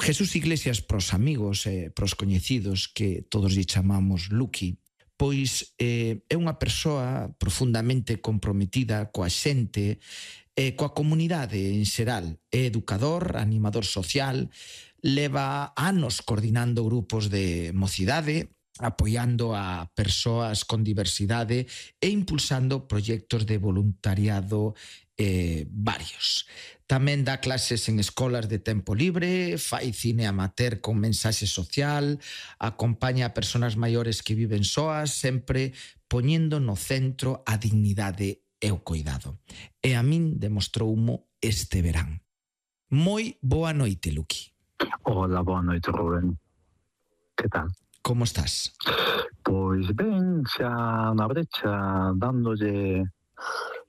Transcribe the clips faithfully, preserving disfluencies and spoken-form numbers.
Jesús Iglesias, pros amigos e pros coñecidos, que todos lle chamamos Luqui, pois eh, é unha persoa profundamente comprometida coa xente e coa comunidade en xeral. É educador, animador social, leva anos coordinando grupos de mocidade, apoiando a persoas con diversidade e impulsando proxectos de voluntariado eh, varios. Tamén dá clases en escolas de tempo libre, fai cine amateur con mensaxe social, acompaña a persoas maiores que viven soas, sempre poñendo no centro a dignidade e o cuidado. E a min demostroumo este verán. Moi boa noite, Luqui. Hola, boa noite, Rubén. Que tal? Como estás? Pois ben, xa na brecha, dándolle,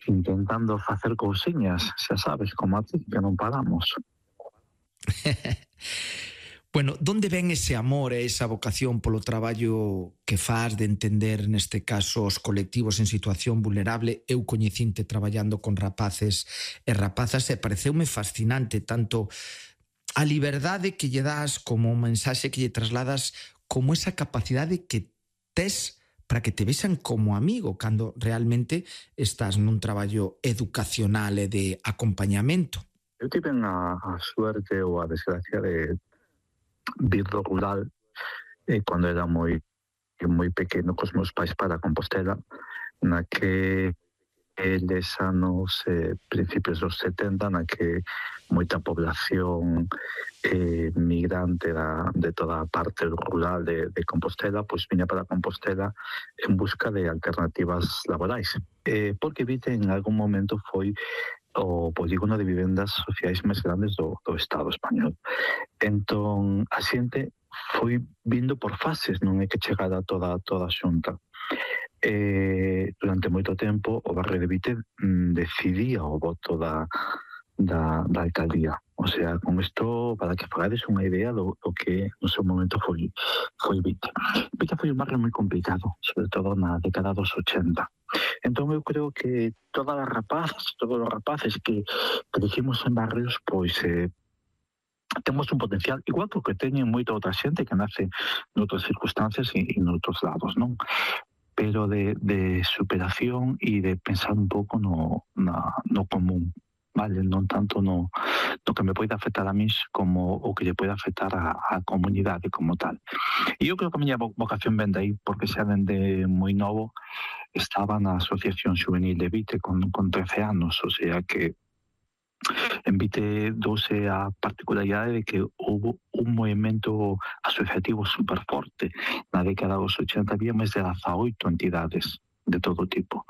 intentando facer cousiñas, xa sabes, como a ti, que non paramos. Bueno, donde ven ese amor e esa vocación polo traballo que faz de entender, neste caso, os colectivos en situación vulnerable? Eu coñecinte traballando con rapaces e rapazas e pareceume fascinante tanto a liberdade que lle das como o mensaxe que lle trasladas, como esa capacidade que tes para que te vexan como amigo cando realmente estás nun traballo educacional e de acompañamento. Eu tive a, a suerte ou a desgracia de vir do rural eh, cando era moi moi pequeno cos meus pais para Compostela, na que eles anos eh, principios dos setenta, na que moita población eh, migrante da, de toda a parte rural de, de Compostela pois viña para Compostela en busca de alternativas laborais, eh, porque Vite en algún momento foi o polígono de vivendas sociais máis grandes do, do Estado español. Entón, a xente foi vindo por fases, non é que chegara toda, toda a xunta. Eh, durante moito tempo o barrio de Vite mm, decidía o voto da, da, da alcaldía. O sea, con isto, para que fagades unha idea do, do que no seu momento foi, foi Vite. Vite foi un barrio moi complicado, sobre todo na década dos ochenta. Entón eu creo que todas as rapazas, todos os rapaces que crecimos en barrios, pois eh, temos un potencial igual que teñen moita outra xente que nace noutras circunstancias e, e noutros lados, non? Pero de, de superación e de pensar un pouco no, na, no común, vale? Non tanto no, no que me pode afectar a mí como o que lle pode afectar a, a comunidade como tal. E eu creo que a miña vocación ven de aí, porque xa dende moi novo estaba na Asociación Juvenil de Vite con, con trece anos, o sea que en Vite douse a particularidade de que houve un movimento asociativo super forte. Na década dos ochenta había máis de dezaoito entidades de todo tipo.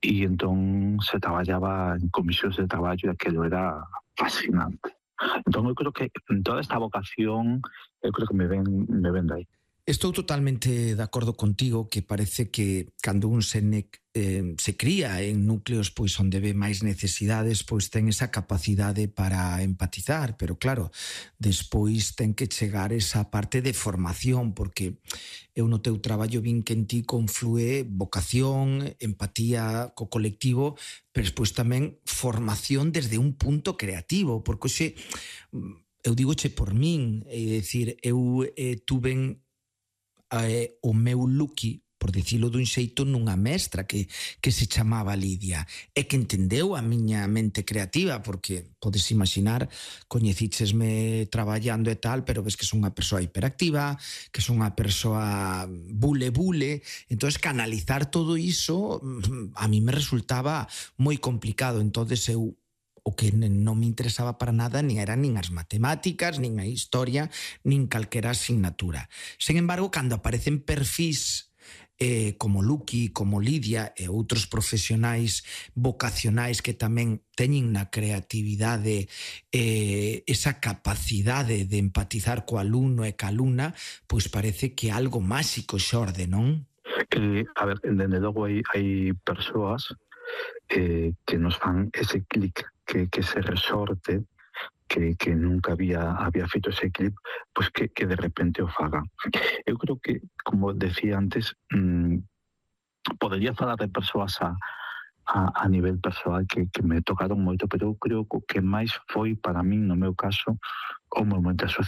E entón se traballaba en comisións de traballo e aquilo era fascinante. Entón eu creo que toda esta vocación eu creo que me ven, me ven de aí. Estou totalmente de acordo contigo que parece que cando un se, ne, eh, se cría en núcleos pois onde ve máis necesidades, pois ten esa capacidade para empatizar, pero claro, despois ten que chegar esa parte de formación, porque eu no teu traballo vin que en ti conflúe vocación, empatía co colectivo, pero despois tamén formación desde un punto creativo, porque hoxe, eu digoche por min, é dicir, eu eh, tuven Eh, o meu Luqui, por dicilo dun xeito, nunha mestra que, que se chamaba Lidia e que entendeu a miña mente creativa, porque podes imaginar, coñecíchesme traballando e tal, pero ves que son unha persoa hiperactiva, que son unha persoa bule bule, entonces canalizar todo iso a mí me resultaba moi complicado. Entonces eu o que non me interesaba para nada nin eran nin as matemáticas, nin a historia, nin calquera asignatura. Sen embargo, cando aparecen perfís eh, como Luqui, como Lidia e outros profesionais vocacionais que tamén teñen na creatividade eh, esa capacidade de empatizar co alumno e ca alumna, pois parece que algo máxico xorde, non? Eh, a ver, dende logo hai, hai persoas eh, que nos fan ese clic, que, que se resorte, que, que nunca había, había feito ese clip, pues que, que de repente o faga. Eu creo que, como decía antes, mmm, podería falar de persoas a, a, a nivel persoal que, que me tocaron moito, pero eu creo que o que máis foi para min, no meu caso, o momento asociado